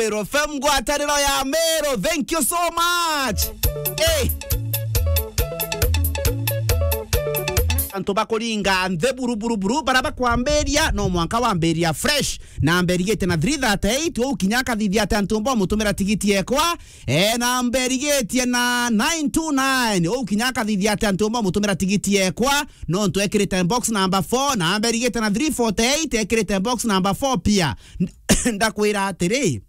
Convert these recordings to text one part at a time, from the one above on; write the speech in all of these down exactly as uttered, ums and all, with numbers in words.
Meru F M, ngwataniro ya Meru. Thank you so much. Hey. Antu bakuringa nthi buru, buru, buru, bara bakwambiria, no mwanka wambiria fresh. Namba irigite na three thirty-eight, uu kinya akathithia ati antu mbo mutumira tigiti ekwa. E, namba irigitie na nine two nine, uu kinya akathithia ati antu mbo mutumira tigiti ekwa. No ntu ekirite box number four, namba irigite na three forty-eight, ekirite box number four pia. Ndakwira atiri,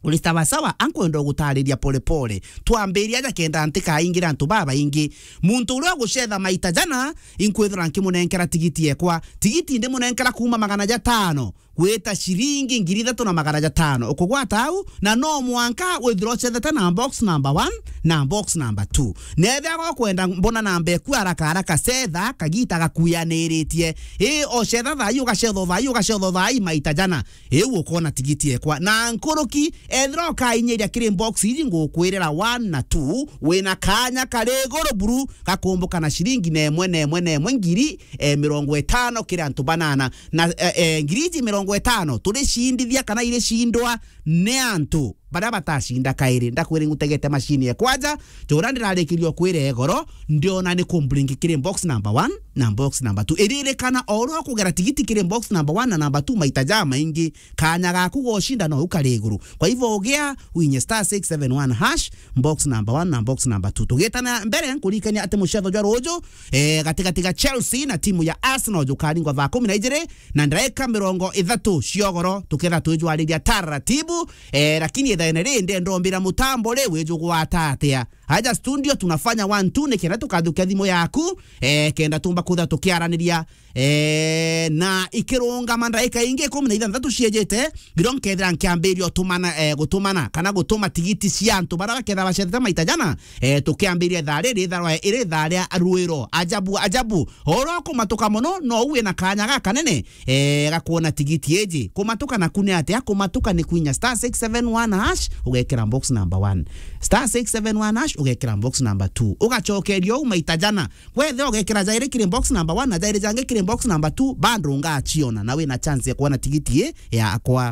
uri sawa sawa, ankwenda gutariria pole pole. Twambiria aja kenda ntikaingira antu babaingi. Muntu uria ugucetha maita jana, inkwithira nkimunenkera tigiti ekwa. Tigiti ndimunenkera kuuma magana jatano gwita ciringi ngiri ithatu na magana jatano. Ukugwata au, na no mwanka withira ucethete na box number one na box number two. Nethia gokwenda mbona namba eku haraka haraka, cetha kagita gakuyaniritie. Ii, ocetha thaa ii, ugacetha thaa ii, ugacetha thaa ii maita jana. Iu ukona tigiti ekwa. Na nkuruki, ethira ukainyiria kiri box iji ngukwirira one na two, wina kanya kari iguru buru gakumbuka na ciringi na imwe, na imwe, na imwe ngiri, eh, mirongo itano kiri antu banana. Na, eh, eh, ngiri iji mirongo itano turicindithia kana iricindwa ni antu baria batacinda kairi. Ndakwira ngutegete macini ekwa ja, jura ndirarikiria kwira igoro, ndiona ni kumbringi kiri box number one na box number two. Iririkana, o uria ukugera tigiti kiri box number one na number two maita jamaingi, kanya gaku gocinda no ukari iguru. Kwa hivyo ugia winye star six seven one hash, box number one na box number two. Tugitana mbere, nkuririkania ati mucetho jwa ruju, eh, gatigati ga Chelsea na timu ya Arsenal jukaringwa thaa kumi na ijiri na ndagika mirongo ithatu cia ugoro, tuketha twijwariria taratibu, eh, lakini ithaene ri ndenda umbira mutambo ri wijugwata atia? Aja studio tunafanya one two, ni kenda tukathukia thimu yaku, eh, kenda tumba kutha tukiaraniria, eh, na ikirungama ndagika ingi ikumi na ithanthatu ciejete, ngiro nkethira nkiambiria utumana, eh, gutumana kana gutuma tigiti cia antu baria baketha bacethete maita jana, eh, tukiambiria ithaa riri, ithaa rwa, iri ithaa ria rwiro. Ajabu, ajabu. Oro kumatuka mono, no uwe na kanya gakanene, eh, gakuona tigiti iji. Kumatuka naku ni atia? Kumatuka ni kwinya star six seven one hash, ugekira box number one. Star six seven one hash, ugekira box number two. Ugacokeria uu maita jana. Wethe ugekira jairi kiri box number one na jairi jangi kiri box number two, bado ungaciona na wina chance ya kuona tigiti ii yakwa.